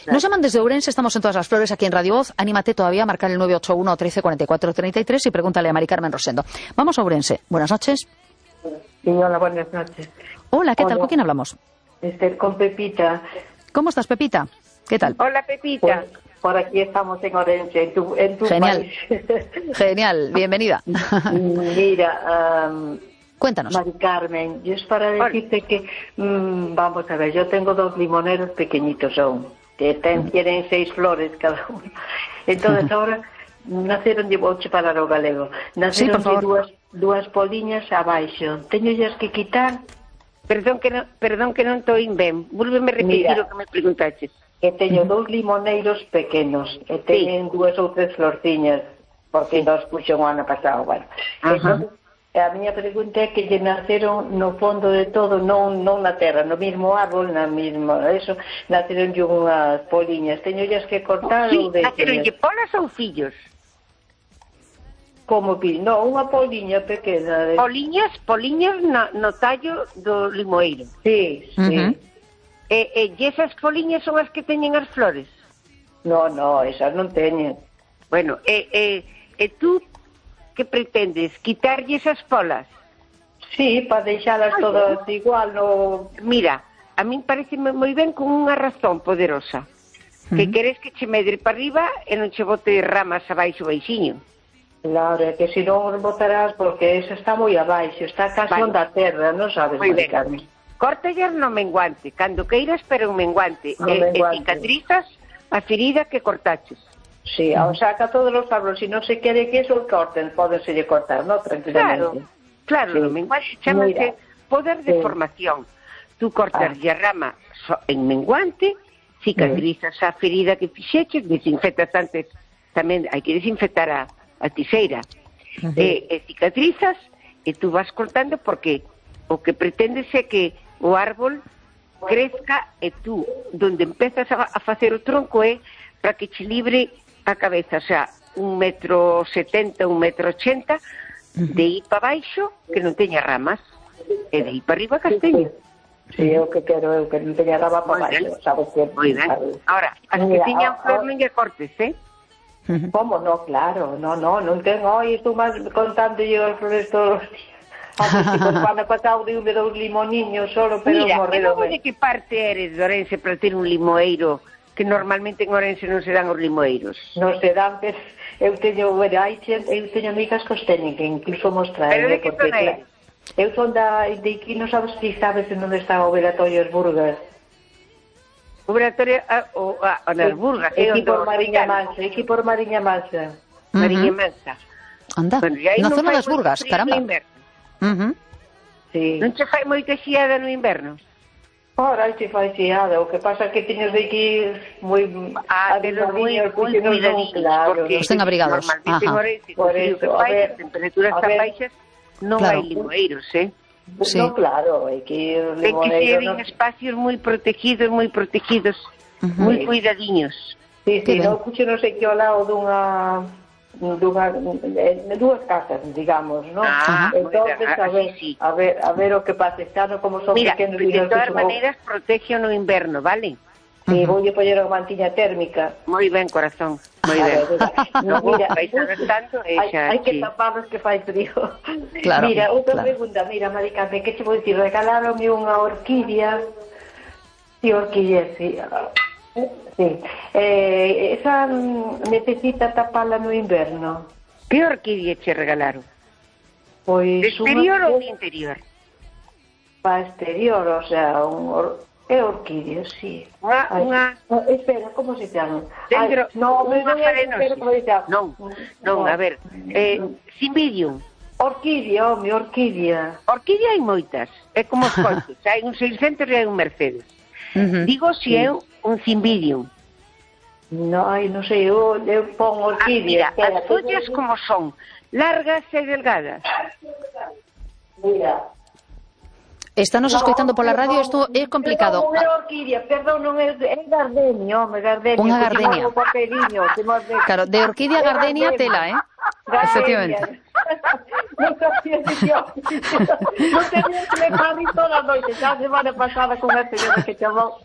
Nos llaman desde Ourense, estamos en Todas las Flores aquí en Radio Voz. Anímate todavía a marcar el 981 13 44 33 y pregúntale a Mari Carmen Rosendo. Vamos a Ourense. Buenas noches. Sí, hola, buenas noches. Hola, ¿qué tal? ¿Con quién hablamos? Con Pepita. ¿Cómo estás, Pepita? ¿Qué tal? Hola, Pepita. Pues, por aquí estamos en Ourense, en tu Genial. país. Genial, bienvenida. Mira, Cuéntanos. Mari Carmen, yo es para decirte que, vamos a ver, yo tengo 2 limoneros pequeñitos aún, que tienen 6 flores cada uno. Entonces ahora naceron, vou che falar o galego, naceron Sí, dúas poliñas abaixo. Teñollas que quitar. Perdón que non estou ben. Vólveme repetir o que me preguntaches. Que teño 2 limoneiros pequenos e teñen 2 ou 3 florciñas, porque nos puxo o ano pasado, bueno. Entón, a miña pregunta é que lle naceron no fondo de todo, non na terra, no mismo árbol, na mesma, eso, naceron unhas poliñas. Teñollas que cortar ou de... Naceronlle polas ou fillos? Como non, unha poliña pequena. Poliñas no tallo do limoeiro. Sí, sí. E esas poliñas son as que teñen as flores? No, esas non teñen. Bueno, e tú que pretendes? Quitarlle esas polas? Sí, para deixalas todas igual, no... Mira, a min parece moi ben con unha razón poderosa. Que queres que che medre para arriba e non che bote ramas abaixo baixiño. Claro, é que se non botarás, porque esa está moi abaixo, está casi onda terra, non sabes, Mari Carmen. Córtallas no menguante, cando queiras, pero un menguante. E cicatrizas a ferida que cortaches. Sí, o saca todos os árboles, se non se quere que eso corten, pódense cortar, non? Tranquilamente. Claro, sí. No menguante chamase poder de formación. Tú cortas a rama en menguante, cicatrizas a ferida que fixeches, desinfectas antes, tamén hai que desinfectar a tiseira, e cicatrizas, e tú vas cortando porque o que pretendes é que o árbol crezca e tú, donde empezas a facer o tronco é para que che libre a cabeza, o sea, 1,70 m, 1,80 m, de ir para baixo, que non teña ramas, e de ir para arriba casteño. Sí, o que quero eu, que non teña rama para baixo, sabes que... Moi ben. Ahora, as que teñan flor non lle cortes, Como? No, claro, non tengo, estou máis contando yo as flores todos os días. Cando pasado de 2 limoniños solo, pero morreron. Mira, de que parte eres de Ourense para ter un limoeiro, que normalmente en Ourense non se dan os limoeiros? Non se dan, pero eu teño amigas que os teñen, que incluso mostrar. Pero de que zona eres? Eu son de aquí, non sabes si sabes en onde está o Velatorio as Burgas. O Velatorio, nas Burgas. Aquí por Mariña Mansa. Mariña Mansa. Anda, na zona das Burgas, caramba. Sí. Non che fai moita xiada no inverno? Ora, xe fai xiada, o que pasa que teños de ir moi... pero moi cuidadiños, porque estén abrigados. Normalmente en Ourense, con frío que fai, as temperaturas tan baixas, non hai limoeiros, Sí. No, claro, hai que ir limoeiros. Ten que ser en espacios moi protegidos, moi cuidadiños. Sí, non puxo non sei que ao lado de 2 casas, digamos, ¿no? Entonces, a ver o que pasa, claro, como son pequenos... Mira, de todas maneiras, protege no inverno, vale? Sí, voulle poñer a mantilla térmica. Moi ben, corazón, moi ben. Mira, hai que taparlos que fai frío. Claro, mira, outra pregunta, mira, Mari Carmen, que che vou dicir, regaláronme unha orquídea, sí, sí. Esa necesita taparla no inverno. Que orquídea che regalaron? Pois de exterior ou de interior? Para exterior, o sea, é orquídea, sí. Espera, como se chama? Dentro, unha farenosis. Non, a ver, Cymbidium. Orquídea, orquídea. Orquídea hai moitas, é como os coches, hai un 600 e hai un Mercedes. Digo se é un Cymbidium. Non sei, eu pon orquídea. Mira, as follas como son, largas e delgadas. Mira. Estános escoitando pola radio, isto é complicado. Non é orquídea, perdón, non é gardenia, gardenia. Unha gardenia. Claro, de orquídea a gardenia tela, Efectivamente. Non sabía que non tenía que me parri toda a noite, xa a semana pasada con a señora que chamou.